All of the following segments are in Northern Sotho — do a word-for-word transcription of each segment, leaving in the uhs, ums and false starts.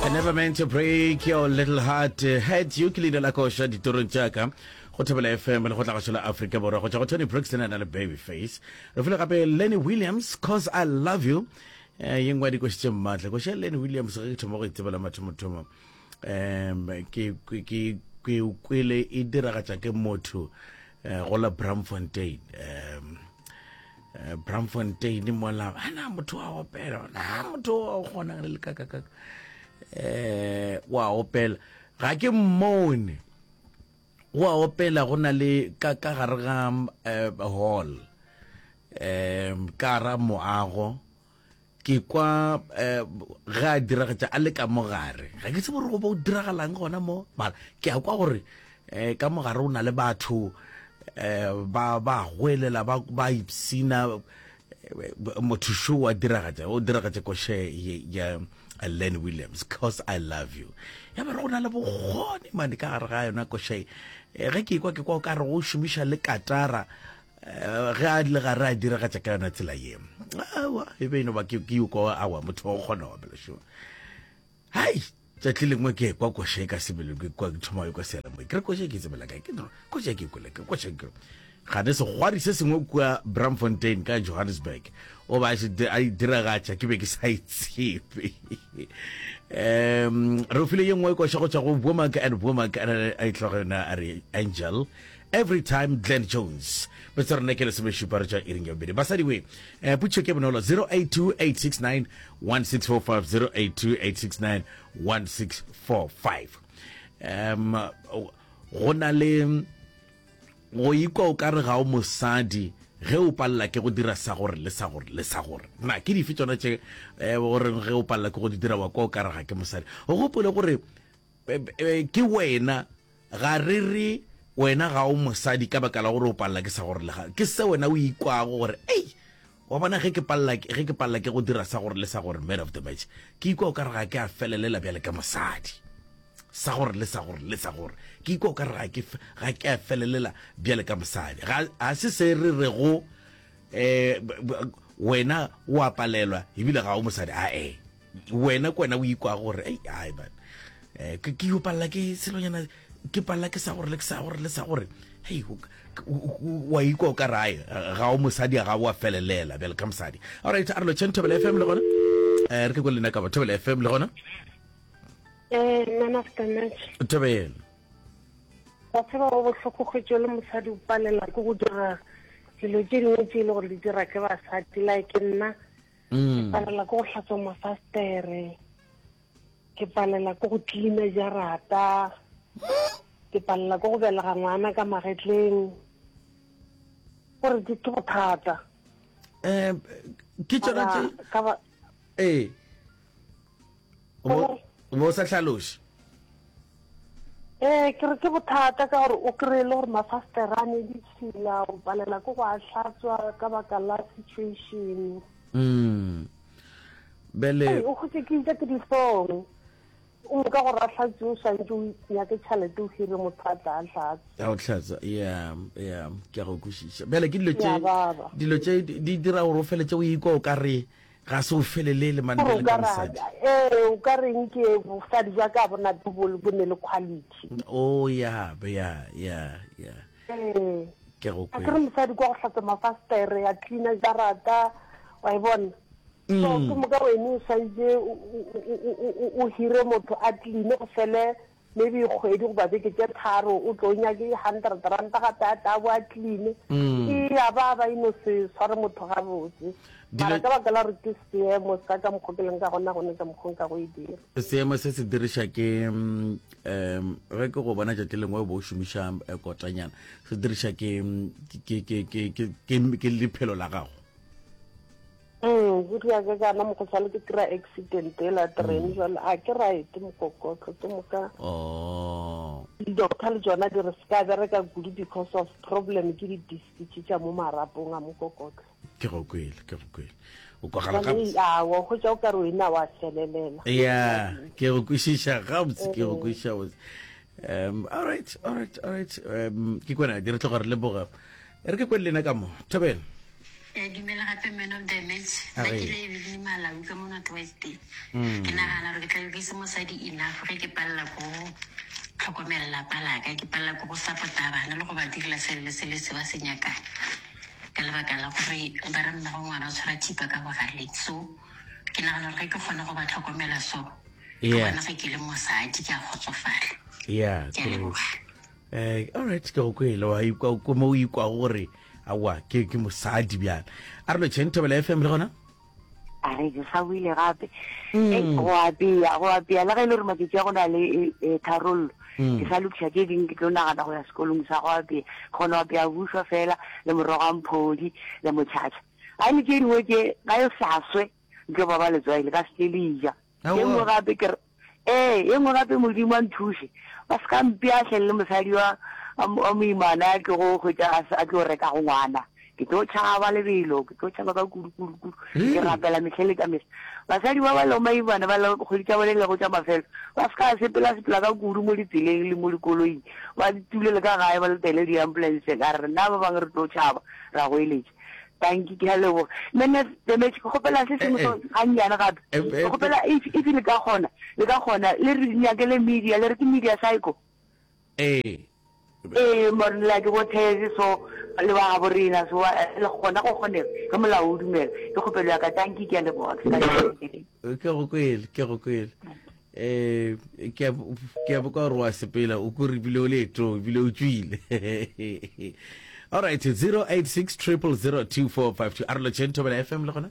I never meant to break your little heart. Had you ke leina la koša ditorong tša ka go Thobela F M le go tla gašo la Afrika Borwa go tšwa go Toni Braxton a na le Babyface. Re file gape Lenny Williams, "Cause I Love You", eh ye nngwe ya dikoši tše maatla. Koši ya Lenny Williams, ge ke thoma go e tsebela mathomothomo, um ke ke ke kwele e diragatša ke motho eh, go la Braamfontein, um eh, Braamfontein mola ana motho wa opela, na motho wa kgona le lekakakaka, eh wa opela, ga ke mmone wa opela, go na le ka ka gare ga eh, hall, um ka ra moago, ke kwa eh, ge a diragatša a le ka mogare. Ga ke tsebe gore go bo diragalang gona mo, mara ke a kwa gore um ka mogare o na le batho um ba ba goelela, ba ba ipsina. Motho šo wa diragatša, o diragatša koše ya Len Williams, "Cause I Love You". Ya ba re go na le bokgoni mane ka gare ga yona koše. Ge ke kwa, ke kwa o ka re go šomiša le katara ge a le gare a diragatša ka yona tsela ye. Awa, e be eno ba ke ke kwa, awa, motho wa go kgona go opela šo. Hai, tšatši lengwe ke kwa koše ka sebele, ke kwa ke thoma kwa seyalemoya, ke re koše ke tsebela kae, ke koše ke kwele ke koše ke gane segwari se sengwe kua Braamfontein ka Johannesburg o ba a e diragatša, ke be ke sa e tsebe. um re o file ye nngwe koša go tšwa go Womack and Womack, a e tloga yona a re "Angel Every Time", Glenn Jones. Betse rena ke lesomešupa re tšwa iring ya bobedi. Basadi we, um putšo ke bonolo, zero eight two eight six nine one six four five, zero eight two eight six nine one six four five. um go na le go ikwa o ka re ga o mosadi ge o palela ke go dira sa gore le sa gore le sa gore. Na ke dife tsona tše um goreng ge o palela ke go di dira wa kwa o ka re ga ke mosadi? O gopole gore ke wena, ga re re wena ga o mosadi ka baka la gore o palela ke sa gore le ga ke se. Wena o ikwago gore, ei, wa bona, ge ke palela ge ke palela ke go dira sa gore le sa gore, man of the match, ke ikwa o ka re ga ke a felelela bjale ka mosadi, sa gore le sa gore le sa gore, ke ikwa o ka re ga ke ga ke a felelela bjale ka mosadi. Ga ga se se re rego um wena o a palelwa ebile ga o mosadi. Ae, wena ke wena o ikwago gore, ei, ai man, um ke ke yo palela ke selonyana, ke palela ke sa gore le ke sa gore le sa gore, hei, wa ikwa o ka re ae ga o mosadi, ga o a felelela bjale ka mosadi. Alright, a re lo tšheng Thobela F M le gona, um re ke ko lena ka ba Thobela F M le gona. Eh, man of the match. Thobela. Wa tseba, go bohloko kgwetso le mosadi o palela ke go dira dilo tše dingwe tše e le gore di dira ke basadi, like nna ke mm. palela ke go hlatswa mafastere, ke palela ke go cleana jarata, ke palela ke go belega ngwana ka magetleng, gore ke ke bothata. um ke tsona tše. Mara ka ba Ee, o bo sa hlaloše. Ee, ke re ke bothata ka gore o kry-e le gore mafastere a ne ditšhila, o palela ke go a hlatswa ka baka la situation. mm. bele Ei, o kgotse ke itse ke dihlong o moka gore a hlatswe, o swantse o nyake tšhelete, o hire motho a tla a hlatswe. A o tlhatsa, ya ya ke a go kwešiša. Bjale ke dilo Ya tše baba. Dilo tše di di dira gore o feletse o ikwa o ka re ga se o felelele mane gore o bjale ka ka mosadi. Ee, o ka reng ke bosadi jwa ka bona bo bo ne le quality. O ya ya ya ya Ee. Ke go A ke re kwele. Mosadi kwa go hlatswa mafastere, a cleana jarata, wa e bona, so mm. ke moka wene o swantse o- o- o- o- o- o hire motho a cleane, go fele maybe kgwedi goba beke tše tharo, o tlo nyake hundred ranta gape a tla bo a cleane. Mm. E ya ba ba eno se tshware motho gabotse, mara Dilo ka baka la gore ke seemo sa ka mokgwa ke leng ka gona, gone ka mokgwa nka go e dira. Seemo se se diriša ke mm, um ge ke go bona tšatši lengwe o bo o šomiša eh, kotanyana, se diriša ke mm, ke ke ke ke ke ke lephelo la gago. Mm, go ria ka kana mokgohlane, ke kry accident ela train, jale a ke right mokokotlo ke moka. Oh. Di-doctor le tsona di re se ka bereka kudu because of problem ke di-disc tše tša mo marapong a mokokotlo. Ke go kwele, ke go kwele, o kwagala jale gabotse. Awa, kgotsa o ka re wena wa felelela. Ya, ke go kwešiša gabotse, ke go kwešiša botse. um all right all right all right um ke kwena di re tloga re leboga. E re ke kwele lena ka mo. Thobela. Ya dumela gape man of the match. Nna ke le Evelyn Malau ka mo North West. Ke nagana gore ke tla be ke se mosadi enough ge ke palela ko go tlhokomela lapa la ka, ke palela ko go support-a bana le go ba direla selo le selo se ba se nyakang. Ka lebaka la gore ba re mmago ngwana o tshwara thipa ka bogaleng. So ke nagana gore ge ke kgona go ba tlhokomela so, ke Yeah. gona ge ke le mosadi ke a kgotsofala. Yeah, Ke a leboga. Eh, all right, ke go kwele wa ikwa ko mo o ikwago gore aowa ke ke mosadi bjale. A re lotšheng Thobela F M le gona? A re ke sa buile gape. Ei, go apea, go apea le ge e le gore matšatši a go na le e, e, tharollo. Ke sa lokiša tše dingwe ke tlo nagana go ya sekolong sa go apea. Ke kgona go apea bušwa fela le morogo wa mphodi le motšhatšha. Ga e le tše dingwe tše ga e sa swe ntlo ba ba letswai le ka se tle le ja. E nngwe gape ke re ee, e nngwe gape Modimo a nthuše ba se ka mpea hleng le mosadi wa wa moimana a tlogo hwetša a a tlo rekago ngwana. Ke tlo tšhaba lebelo, ke tlo tšhaba ka kudu kudu kudu. Ke rapela mehle le ka mehla. Basadi ba ba lego maimana ba le kgwedi tša bone lego tša mafelo ba se ka sepela sepela ka kudu mo ditseleng le mo dikoloing, ba itulele ka gae ba letele di-ambulance. Ka re rena ba bangwe re tlo tšhaba ra goeletša. Tanki, ke a leboga. Man of the match, ke kgopela se sengwe so gannyane gape. Ke kgopela if, if le ka kgona, le ka kgona, le re nyakele media, le re ke media psycho. Ee. Ee, more like bo Thezi so, le ba gabo rena so, le kgona go kgonega, ge molao o dumela. Ke kgopelo ya ka, tanki, ke a leboga. Ke sa Ke go kwele, ke go kwele. Eh, ke a, ke a boka gore wa sepela, o kore ebile o leetong, ebile o tšwile. All right, zero eight six triple zero two four five two. A re lotšheng Thobela F M le gona?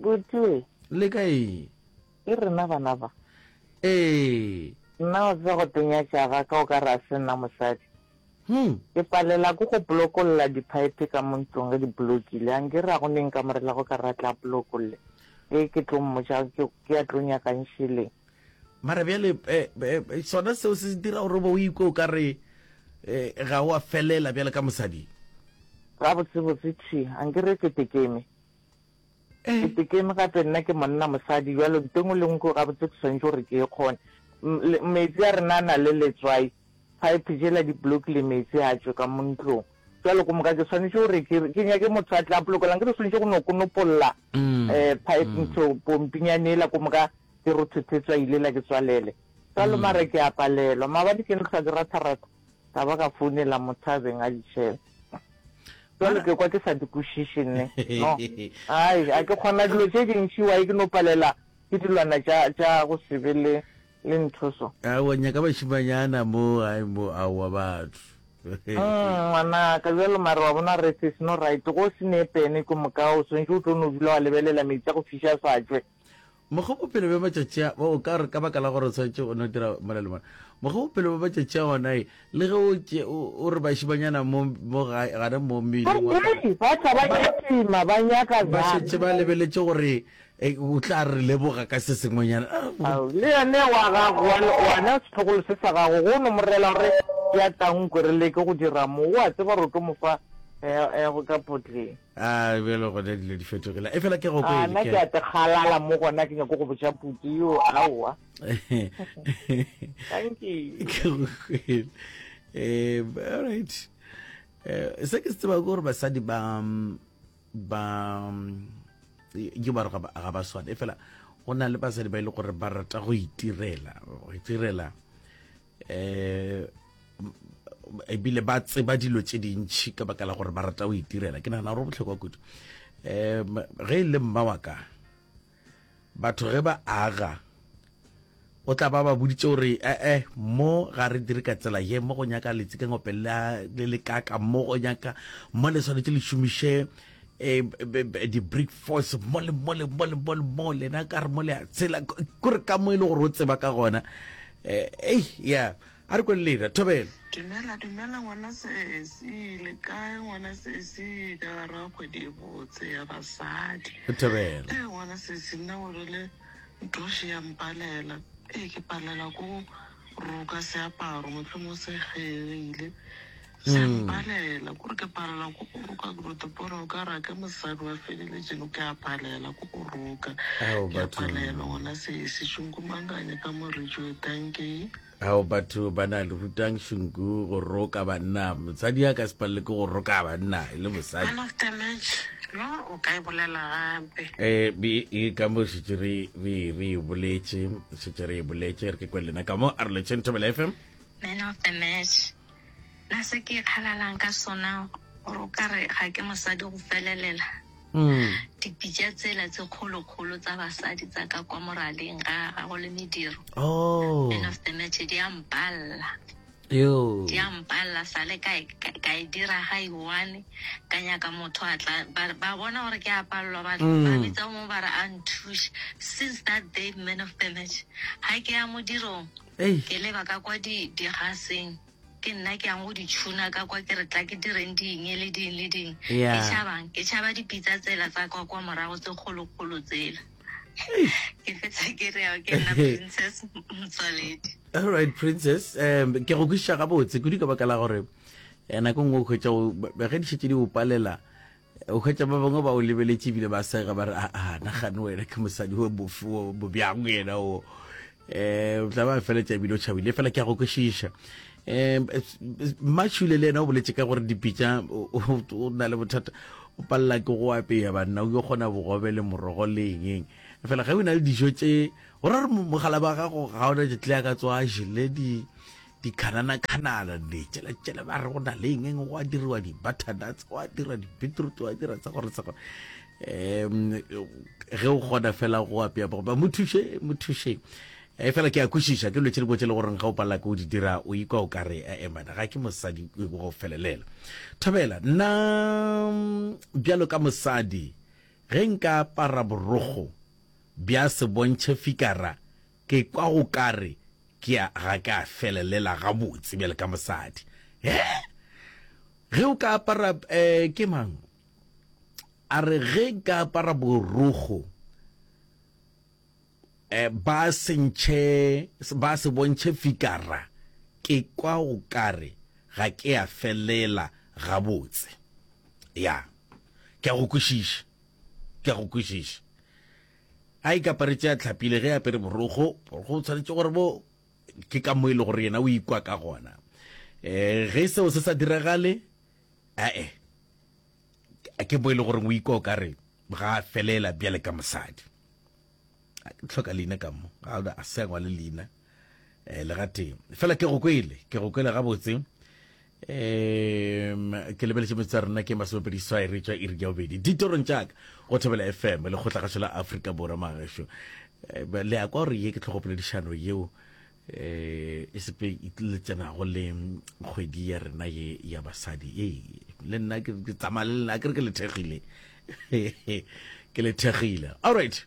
Botue. Le kae? Ke rena bana ba. Ee. Nna o tseba go tenyatša ga ka o ka re a se nna mosadi. Hmm. Ke palela ke go polokolla diphaephe ka mo ntlong ge di blokile. A nke re a go neng ka morela go ka re a tla polokolle. Ge ke tlo mmotša ke, ke a tlo nyakang šeleng. Mara bjale, eh, eh, sona seo se dira gore o be o ikwe o ka re, eh, ga o a felela bjale ka mosadi? Gabotsebotse thwi, a nke re ke tekeme. Eh. Ke tekeme gape nna ke monna mosadi, bjalo ntho engwe le nngwe gabotse ke swanetše gore ke e kgone. M-, le, metsi a rena a na le letswai, pipe jela di blokile metsi a tšwe ka mo ntlong. Jwalo ko moka ke swanetše gore ke, ke nyake motho a tla polokolang, ke re swanetše go no konopolla, Mm. eh, pipe Mm. ntho pompinyane ela ko moka ke rothothe tswai lela ke tswalele. Jwalo Mm. mara ke a palelwa. Maabane ke ntlhwa ke ratharatha, ka ba ka founela motho a beng a di tšhela. Jwalo ke kwa ke sa di kwešiše nne. No. Ai, a ke kgona dilo tše dintši wa ke no palela ke dilwana tša, tša go se be le, le ntho so. Aowa, nyaka bašimanyana mo gae mo, aowa batho. Mm, ngwanaka, bjalo mare wa bona re se no right, go se ne pene ke moka o swantše o tlo no dula wa lebelela metsi a go fiša a sa tšwe. Mokgwa bophelo bja matšatši a, o ka re ka baka la gore o swanetše o no dira mola le mola. Mokgwa bophelo bja matšatši a gona e, le ge o tše, o, o re bašimanyana mo, mo gae, gana mo mmeleng wa Hei, ba tla ba kitima, ba nyaka Ba bjang. šetše ba lebeletše gore, e, o tla re leboga ka se sengwenyana. Ah, Ao, le yene wa gago, wa, wana setlogolo se sa gago, go no mo rela gore ke ya tankwe re leke go dira mo, o a tseba gore o tlo mo fa, eh, eh, go ka potleng. A bjalo gona dilo di fetogile. E fela ke go A, kwele, nna ke ke a te kgalala mo gona, ke nyako go botša puti yo, aowa. Thank you. Ke go kwele. Eh, all right. Eh, se ke se tseba ke gore basadi ba, ba, ke ba re ga ba, ga ba swane. E fela go na le basadi ba e le gore ba rata go itirela, go itirela, eh, ebile ba tseba dilo tše dintši ka baka la gore ba rata go itirela. Ke nagana gore go bohlokwa kudu. Em, ge e le mma wa ka, batho ge ba aga, o tla ba ba boditše gore, eh, eh, mo ga re dire ka tsela ye, mo go nyaka letsi ka ngope la, le le kaka, mo go nyaka, mo le swanetše le šomiše, eh, be, be, di-brick force, mo le, mo le, mo le, mo le, mo lena ka re mo le a tsela, kore ka mo e le gore o tseba ka gona. Eh, ei, yeah. A re kwele lena, Thobela. Dumela, dumela ngwana sesi, le kae ngwana sesi, ka gare ga kgwedi e botse ya basadi. Thobela. Eh, ngwana sesi, nna o rile ntoši ya mpalela. Eh, ke palela ko roka seaparo, mohlomong se kgegile. Se a mpalela, kore ke palela ko go roka ke rote pone o ka re ke mosadi wa feleletše no ke a palela ko go roka. Ao Ke a batho. palelwa ngwana sesi šunku manganye ka moritšo dankie. Ao batho ba na le rutang šunku go roka banna. Mosadi a ka se palele ke go roka banna e le mosadi. Man of the match, no o ka e bolela gape. Eh, be e ka mo šetše re re re e boletše, šetše re e boletše re ke kwe lena ka mo a re letšeng Thobela F M. Man of the match, na se ke ikgalalang ka sona gore o ka re ga ke mosadi go felelela. Dipitša tsela tse kgolokgolo tsa basadi tsa ka kwa moraleng ga ga go le mediro. Oh. Man of the match di a mpalla. Yo. Di a mpalla sale ka e, ka, ka e dira ga e one ka nyaka motho a tla ba, ba bona gore ke a pallwa ba, Mm. ba bitsa mo ba re a nthuše. Since that day man of the match ha ke ya modirong Ei. ke leba ka kwa di digaseng ke nna ke yang go di tšhuna ka kwa ke re tla ke direng ding le ding le ding. Yeah. Ke tšhabang ke tšhaba dipitsa tsela tsa kwa kwa morago tse kgolokgolo tsela. Ke fetsa ke re ao ke nna Princess Motswaledi. All right Princess, um ke go kwešiša gabotse kudu ka baka la gore eh, nako nngwe o hwetša o- ba- ge di šetše di o palela o hwetša ba bangwe ba o lebeletše ebile ba sega ba re a a nagane wena ke mosadi o bofe o bobjang yena o um o tla ba feletša ebile o tšhabile fela ke a go kwešiša. Um Mmatšhule le yena o boletše ka gore dipitša o o- o na le bothata o palela ke go apeya banna o yo kgona bogobe le morogo le eng eng fela ge o na le dijo tše go ra gore mogala ba gago ga ona tle a ka tswa a jele di dikhanana-khanana le tšela ba re go na le eng eng go a diriwa di-butternuts go a dira di-beetroot go a dira tsa gore tsa gore um ge o kgona fela go apea bogobe mo thuše mo thušeng e fela ke a kwešiša ke dilo tše dingwe tše le goreng ga o palela ke o di dira o ikwa o ka re ee mana ga ke mosadi go felelela. Thobela nna bjalo ka mosadi ge nka apara borokgo bja se bontšhe fikara ke kwa go kare ke a ga ke a felelela gabotse bjale ka mosadi. He ge o ka apara um ke mang a re ge nka apara borokgo eh ba sentšhe ba se bontšhe fikara ke kwa go kare ga ke a felela gabotse. Ya ke a go kwešiša ke a go kwešiša. A ikaparetše a tlhapile ge a apere borokgo borokgo o tshwanetše gore bo ke ka mo e le gore yena o ikwa ka gona. Um ge seo se sa diragale ae ke mo e le gore o ikwa o kare ga a felela bjale ka mosadi. A ke tlhoka leina ka mo ga a se a ngwale leina um le gatee fela ke go kwele ke go kwele gabotse. Um ke lebeletše metsotso ya rena ke masomepedi seswai re tšwa iri ya bobedi ditorong tšaka go Thobela F M lekgotlagašo la Afrika Borwa magešo. Le ya kwa gore ye ke tlhogopoledišano yeo eh e sepe e tleletšanago le kgwedi ya rena ye ya basadi. Ee le nna ke tsamaya le lena ke re ke le thekgile ke le thekgile. All right.